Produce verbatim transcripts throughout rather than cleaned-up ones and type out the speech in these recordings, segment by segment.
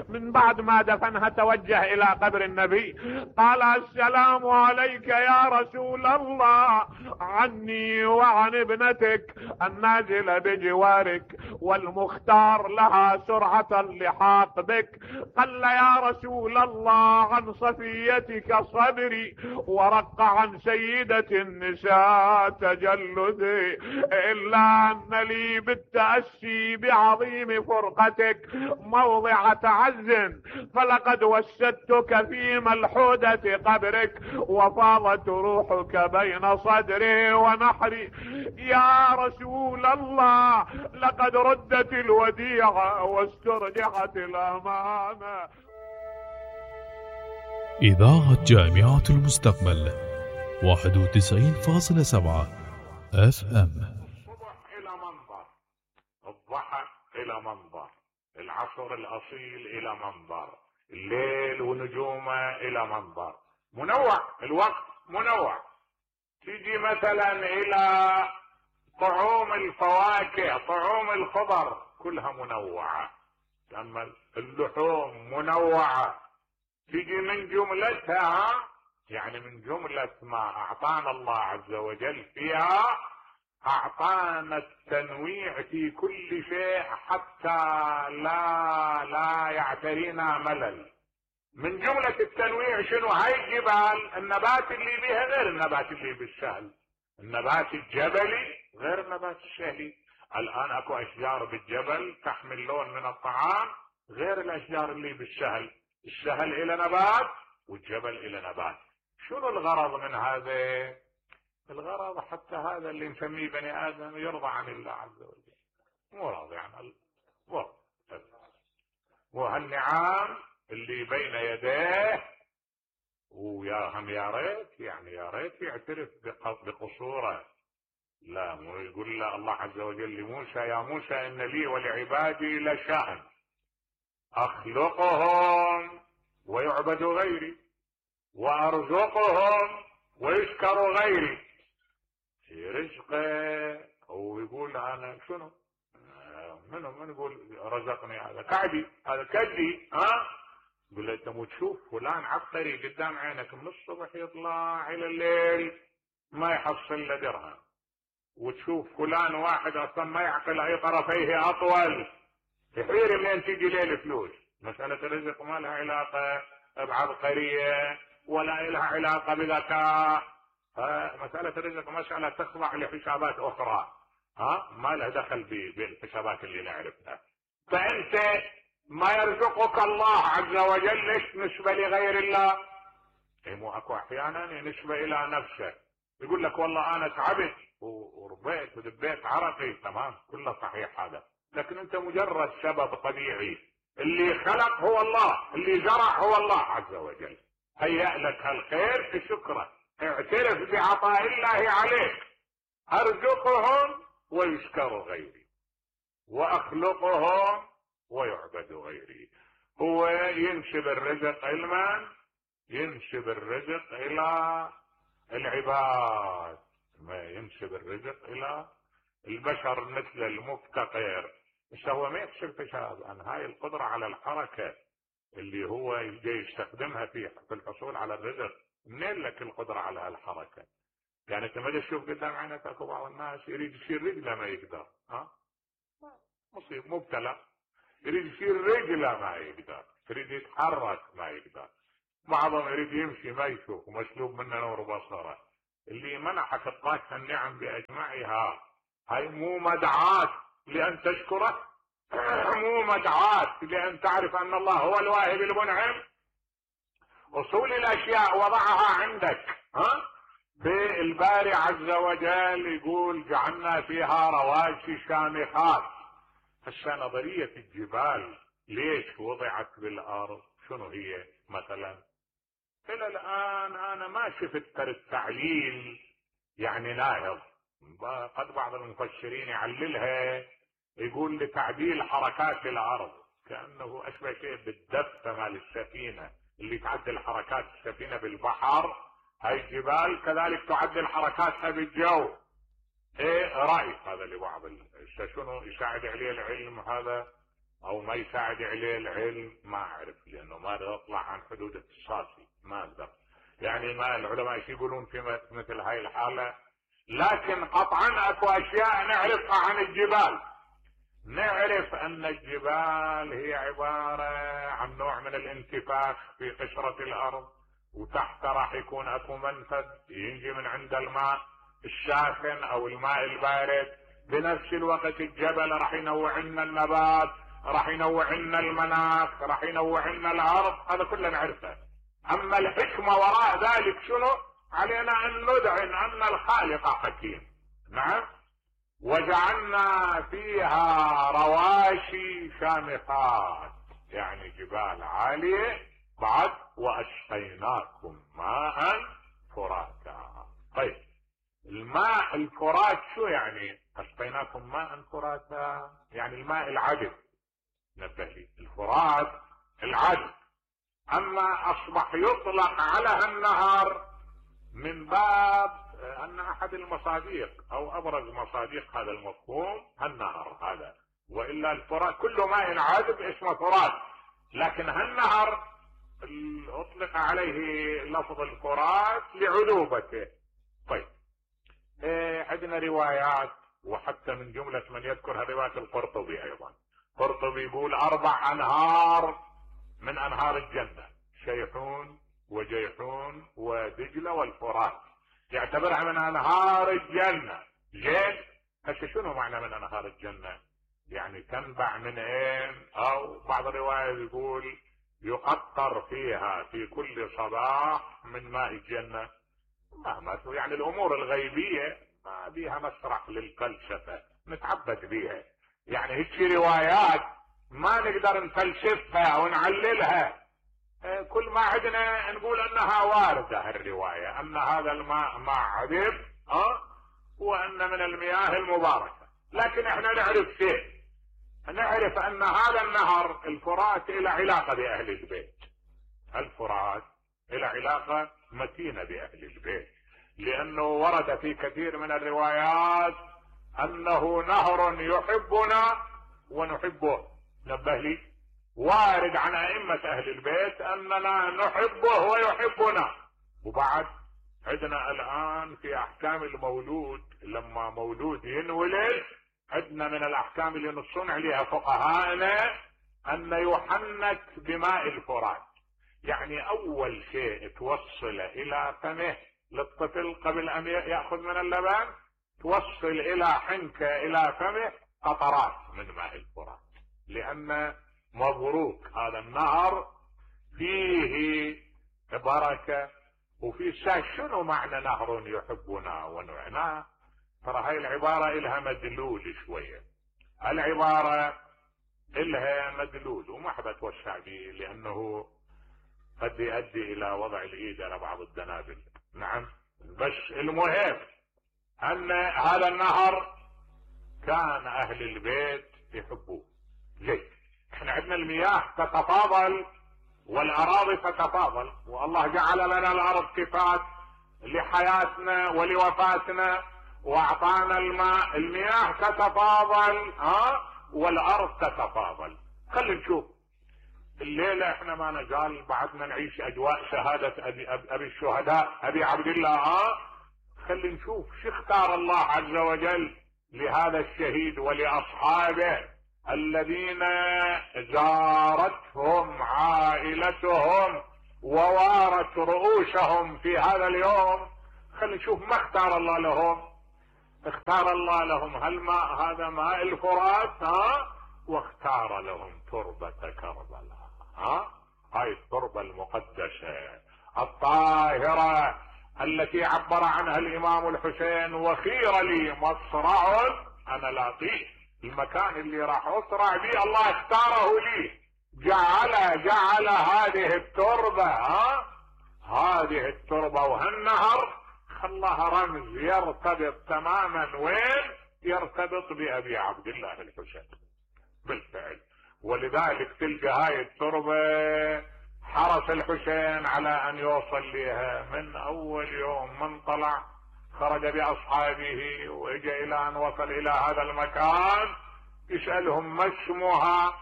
من بعد ما دفنها توجه الى قبر النبي قال: السلام عليك يا رسول الله، عني وعن ابنتك النازلة بجوارك والمختار لها سرعة اللحاق بك. قال: يا رسول الله، عن صفيتك صبري ورق عن سيدة النساء تجلدي، إلا أن لي بالتأسي بعظيم فرقتك موضع تعز، فلقد وسدتك في ملحودة قبرك وفاضت روحك بين صدري ونحري. يا رسول الله، لقد ردت الوديعة واسترجعت الأمانة. إذاعة جامعة المستقبل واحد وتسعين فاصلة سبعة اف ام. الصبح إلى منظر، الضحى إلى منظر، العصر الأصيل إلى منظر، الليل ونجومه إلى منظر. منوع الوقت، منوع. تيجي مثلا إلى طعوم الفواكه، طعوم الخضر كلها منوعة. أما اللحوم منوعة. تيجي من جملتها، يعني من جملة ما أعطانا الله عز وجل فيها، أعطانا التنويع في كل شيء حتى لا لا يعترينا ملل. من جملة التنويع شنو؟ هاي الجبال، النبات اللي بها غير النبات اللي بالسهل، النبات الجبلي غير النبات السهلي. الآن اكو أشجار بالجبل تحمل لون من الطعام غير الأشجار اللي بالسهل. السهل إلى نبات والجبل إلى نبات. شنو الغرض من هذا؟ الغرض حتى هذا اللي نسميه بني آدم يرضى عن الله عز وجل، مو راضي عن الله. وهالنعام اللي بين يديه، ويا هم يا ريت، يعني يا ريت يعترف بقصوره. لا، مو يقول له الله عز وجل لموسى: يا موسى إن لي ولعبادي لشأن أخلقهم ويعبدوا غيري وأرزقهم ويشكروا غيري. في رزقه هو يقول أنا شنو؟ منو من يقول رزقني؟ هذا كعبي، هذا كدي. ها؟ يقول له أنت مو تشوف فلان عبقري قدام عينك من الصبح يطلع إلى الليل ما يحصل له درهم، وتشوف فلان واحد أصلا ما يعقل أي طرفيه أطول، تحير منين تيجي ليه الفلوس. مسألة الرزق ما لها علاقة بعبقرية ولا لها علاقة بذكاء. مسألة الرزق مسألة تخضع لحسابات أخرى، ها ما له دخل بالحسابات اللي نعرفها. فأنت ما يرزقك الله عز وجل ليش نسبة لغير الله؟ اي مو اكو احيانا نسبة الى نفسه، يقول لك والله انا تعبت وربيت ودبيت عرقي، تمام كله صحيح هذا، لكن انت مجرد سبب طبيعي. اللي خلق هو الله، اللي زرع هو الله عز وجل. هيأ لك هالخير بشكره، اعترف بعطاء الله عليك. ارزقهم ويشكر غيري واخلقهم ويعبد غيري. هو ينسب الرزق علما، ينسب الرزق الى العباد، ما ينسب الرزق الى البشر مثل المفتقر. بس هو ما يكشف حساب عن هاي القدرة على الحركة اللي هو يجي يستخدمها في في الحصول على الرزق. منين لك القدرة على هالحركة؟ يعني انت ما تشوف قدام عينك اكو بعض الناس يريد يشيل رجله ما يقدر، ها مصيب مبتلى، يريد يشيل رجله ما يقدر، يريد يتحرك ما يقدر، بعضهم يريد يمشي ما يشوف ومسلوب منه نور بصره. اللي منحك الطاقة النعم باجمعها هاي مو مدعاة لان تشكره، مو مدعاة لان تعرف ان الله هو الواهب المنعم. اصول الاشياء وضعها عندك، ها بالباري عز وجل يقول جعلنا فيها رواسي شامخات. هسه نظرية الجبال ليش وضعت بالارض؟ شنو هي مثلا؟ الى الان انا ما شفت التعليل يعني ناهض. قد بعض المفسرين يعللها يقول لتعديل حركات الارض، كانه اشبه شيء بالدفه مال السفينه اللي تعدل حركات السفينه بالبحر. هاي الجبال كذلك تعدل حركاتها بالجو. ايه راي هذا لبعض شنو يساعد عليه العلم هذا او ما يساعد عليه العلم ما اعرف، لانه ما يطلع عن حدود اختصاصي ما اقدر. يعني ما العلماء ايش يقولون في مثل هاي الحالة؟ لكن قطعا اكو اشياء نعرفها عن الجبال. نعرف ان الجبال هي عبارة عن نوع من الانتفاخ في قشرة الارض، وتحت راح يكون اكو منفذ ينجي من عند الماء الساخن او الماء البارد. بنفس الوقت الجبل راح ينوع لنا النبات، راح ينوع لنا المناخ، راح ينوع لنا الارض، هذا كله نعرفه. اما الحكمة وراء ذلك شنو؟ علينا ان ندعن ان الخالق حكيم. نعم. وجعلنا فيها رواشي شامخات، يعني جبال عالية. بعد واسقيناكم ماء فراتا. طيب الماء الفرات شو يعني؟ اسقيناكم ماء فراتا يعني الماء العذب. نبه لي الفرات العذب. اما اصبح يطلق على هالنهر من باب ان احد المصادق او ابرز مصادق هذا المفهوم هالنهر هذا، والا الفرات كل ماء عذب اسمه فرات، لكن هالنهر اطلق عليه لفظ الفرات لعذوبته. طيب إيه عندنا روايات، وحتى من جملة من يذكر رواية القرطبي ايضا. القرطبي يقول اربع انهار من انهار الجنة، شيحون وجيحون ودجلة والفرات، يعتبرها من انهار الجنة. زين هسه شنو معنى من انهار الجنة؟ يعني تنبع من اين؟ او بعض الرواية يقول يقطر فيها في كل صباح من ماء الجنة. ما يعني الامور الغيبية ما بيها مسرح للفلسفة نتعبد بيها، يعني هيك روايات ما نقدر نفلسفها ونعللها. كل ما عندنا نقول انها واردة الرواية ان هذا الماء ماء عذب اه وان من المياه المباركة. لكن احنا نعرف شيء، نعرف ان هذا النهر الفرات له علاقة باهل البيت. الفرات له علاقة متينة باهل البيت، لانه ورد في كثير من الروايات انه نهر يحبنا ونحبه. نبه لي وارد عن ائمة اهل البيت اننا نحبه ويحبنا. وبعد عندنا الان في احكام المولود، لما مولود ينولد عندنا من الاحكام اللي نصون عليها فقهاءنا ان يحنك بماء الفرات. يعني اول شيء توصل الى فمه للطفل قبل ان يأخذ من اللبن، توصل الى حنكه الى فمه قطرات من ماء الفرات، لان مبروك هذا النهر فيه بركة وفيه ساعة. شنو معنى نهر يحبنا ونعناه؟ ترى هاي العبارة إلها مدلول شوية، العبارة إلها مدلول وما حب اتوسع به لأنه قد يؤدي إلى وضع الإيد على بعض الدنابل. نعم، بس المهم أن هذا النهر كان أهل البيت يحبوه. ليه؟ احنا عندنا المياه تتفاضل والاراضي تتفاضل، والله جعل لنا الارض كفات لحياتنا ولوفاتنا واعطانا الماء. المياه تتفاضل ها والارض تتفاضل. خلي نشوف الليلة احنا ما نزال بعدنا نعيش اجواء شهادة ابي, أبي الشهداء ابي عبد الله. ها خلي نشوف شو اختار الله عز وجل لهذا الشهيد ولاصحابه الذين زارتهم عائلتهم ووارت رؤوسهم في هذا اليوم. خلينا نشوف ما اختار الله لهم. اختار الله لهم هالماء، هذا ماء الفرات ها واختار لهم تربة كربلاء. ها هاي التربة المقدسة الطاهرة التي عبر عنها الامام الحسين وخير لي مصرع انا لاقيه. المكان اللي راح اسرع به الله اختاره لي، جعل جعل هذه التربة ها هذه التربة وهالنهر خلاها رمز يرتبط تماما وين؟ يرتبط بأبي عبد الله الحسين بالفعل. ولذلك تلقى هاي التربة حرص الحسين على ان يوصل لها من اول يوم من طلع خرج باصحابه واجى الى ان وصل الى هذا المكان يسألهم ما اسمها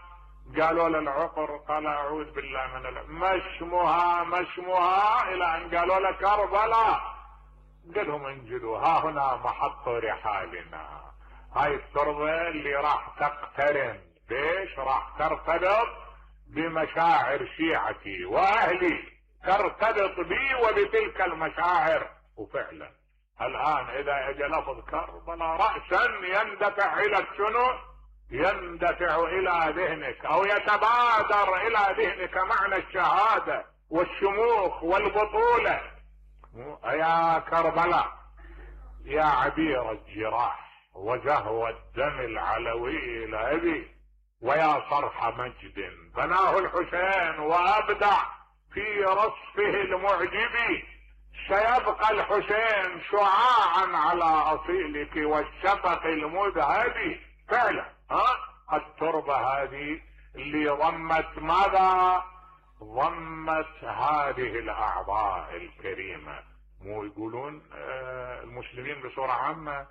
قالوا له العقر، قال اعوذ بالله من العقر. ما اسمها ما اسمها الى ان قالوا له كربلاء. قال لهم انزلوا، ها هنا محط رحالنا. هاي التربة اللي راح تقترن ليش؟ راح ترتبط بمشاعر شيعتي واهلي، ترتبط بي وبتلك المشاعر. وفعلا الان اذا اجى لفظ كربلاء رأسا يندفع الى شنو؟ يندفع الى ذهنك او يتبادر الى ذهنك معنى الشهادة والشموخ والبطولة. يا كربلاء يا عبير الجراح وزهو الدم العلوي لأبي، ويا صرح مجد بناه الحسين وابدع في رصفه المعجب، سيبقى الحسين شعاعا على اصيلك والشفق المذهب. فعلا ها التربة هذه اللي ضمت ماذا؟ ضمت هذه الاعضاء الكريمة. مو يقولون آه المسلمين بصورة عامة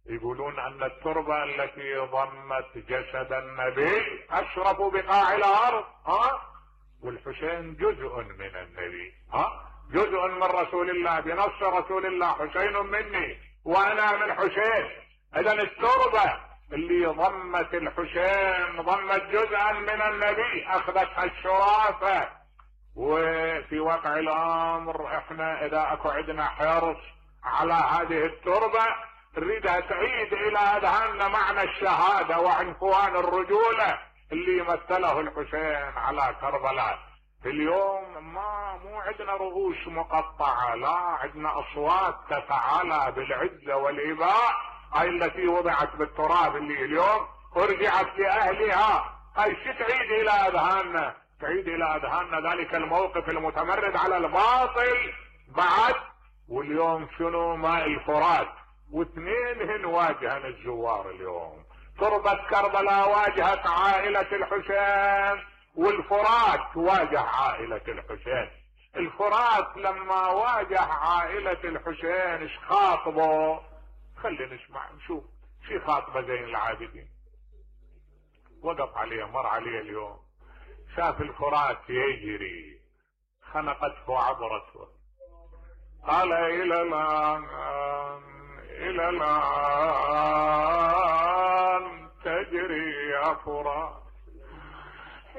يقولون ان التربة التي ضمت جسد النبي اشرف بقاع الارض، ها والحسين جزء من النبي، ها جزء من رسول الله بنص رسول الله، حسين مني وانا من حسين. اذا التربة اللي ضمت الحسين ضمت جزءا من النبي، اخذتها الشرافة. وفي واقع الامر احنا اذا اكو عندنا حرص على هذه التربة نريدها تعيد الى اذهاننا معنى الشهادة وعنفوان الرجولة اللي مثله الحسين على كربلاء. في اليوم ما مو عندنا رؤوس مقطعة، لا عندنا اصوات تتعالى بالعزة والاباء، هاي التي وضعت بالتراب اللي اليوم ارجعت لاهلها. هاي شو تعيد الى اذهاننا؟ تعيد الى اذهاننا ذلك الموقف المتمرد على الباطل بعد. واليوم شنو؟ ماء الفرات، واثنين هن واجهن الزوار اليوم. تربة كربلاء واجهت عائلة الحسين، والفرات واجه عائلة الحسين. الفرات لما واجه عائلة الحسين ايش خاطبه؟ خلينا نسمع نشوف شي خاطبه زين العابدين. وقف عليه، مر عليه اليوم، شاف الفرات يجري، خنقته عبرته، قال الى الان الى الان تجري يا فرات